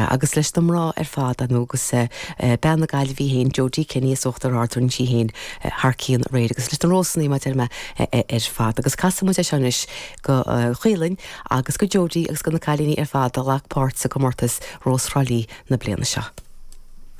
Sea, agus leis na mná ar fad, ar ndóigh, agus bean na Gaillimhe í féin, Jodie Kenny as Uachtar Ard, rinne sí féin thar cionn aréir, agus leis na Rósannaí, mar a deir mé, ar fad. Agus casfaidh muid é seo anois go Caoilinn agus go Jodie agus go na cailíní ar fad a ghlac páirt sa gcomórtas Rós Thrá Lí na bliana seo.